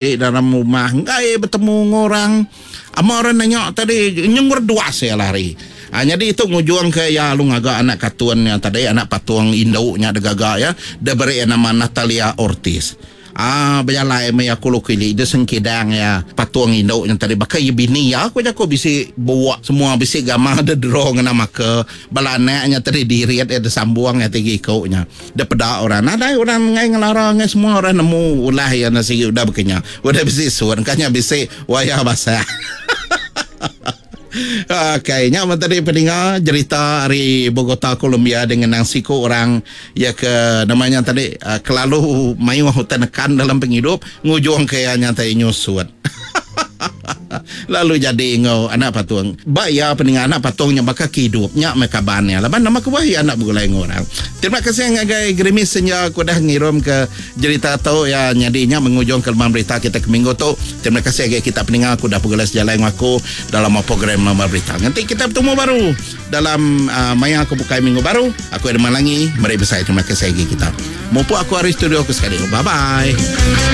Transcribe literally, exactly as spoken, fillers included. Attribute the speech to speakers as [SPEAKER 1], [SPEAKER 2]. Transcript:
[SPEAKER 1] Dalam rumah enggai betemu enggau orang. Ama orang nanya tadi nyenggur duas iya lari. Ha, nyadi tu ngujungka iya lalu ngaga anak katun nya tadi, anak patung indu nya digaga iya, diberi iya nama Natalia Ortiz. Ah bejalai meh iya kulu kili dia sengkidang iya patung indu nya tadi baka iya bini iya ku jaku bisi buak semua bisi gamal deh draw ngena marker bala anak nya tadi dirit iya disambung iya tiga iku nya. Dipeda orang nadai orang enggai ngelara enggai semua orang nemu ulah iya enda sigi udah baka nya. Udah bisi sun ka nya bisi wayar basah. Okay nya meh tadi peninga jerita ari Bogota Colombia dengan nang siku orang iya ke nama nya tadi kelalu mayuh utai nekan dalam pengidup ngujung ke iya nya tadi nyusut. Lalu jadi enggau anak patung. Ba iya peninga anak patung nya baka ke idup nya meh kaban iya laban nama kebuah iya enda begulai enggau orang. Terima kasih ngagai Gerimis Senja ke udah ngirum ke jerita tu iya nyadi nya mengujung ke leman berita kita ke minggu tu. Terima kasih ngagai kita peninga ke udah begulai sejalai enggau aku dalam program leman berita. Nganti kita betemu baru dalam uh, maya ke bukai minggu baru. Aku Edmund Langi meri besai terima kasih ngagai kita. Mupuk aku ari studio aku sekali. Bye bye.